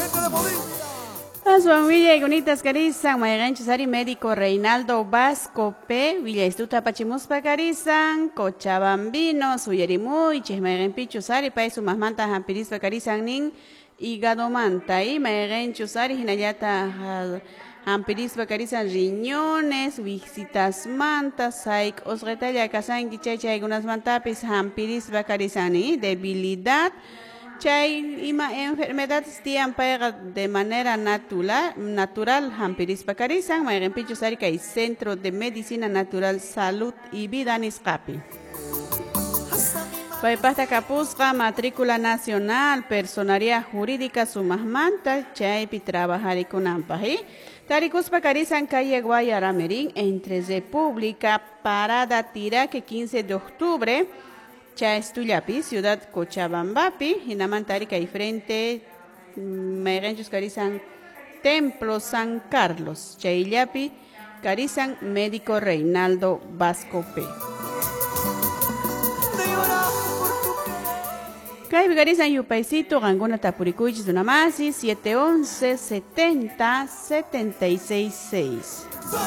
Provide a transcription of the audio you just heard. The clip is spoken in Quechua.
Gente de Bolivia. Aswan willaykunita karisan mayqanchus ari médico Reinaldo Vasco P willaystuta apachimuspa karisan Cochabambino suyarimuychis mayqanpichus ari pay sumaqmanta hampirispa karisan nin hígadomanta y mayqanchus ari hinallataq hampirispa karisan riñones wisitasmanta sayk'usqitalla kasanki chay chaykunasmantapis hampirispa karisan nin debilidad chay ima enfermedades tiyan payqa de manera natural hampirispa karisan mayqanpichus ari kay Centro de Medicina Natural Salud y Vida nisqapi. Paypaqta kapusqa matrícula nacional personería jurídica sumaqmanta chaypi trabajarikunanpaq Tarikuspa karisan calle Guayaramerín entre República Parada Tiraque 15 de octubre Chaestullapi, Ciudad Cochabambapi, hinamanta ari kay frente mayqanchus karisan Templo San Carlos, chayllapi karisan médico Reinaldo Vasco P. Kaypi karisan yupaysito qankuna tapurikuychis runamasi 711 70 76 6.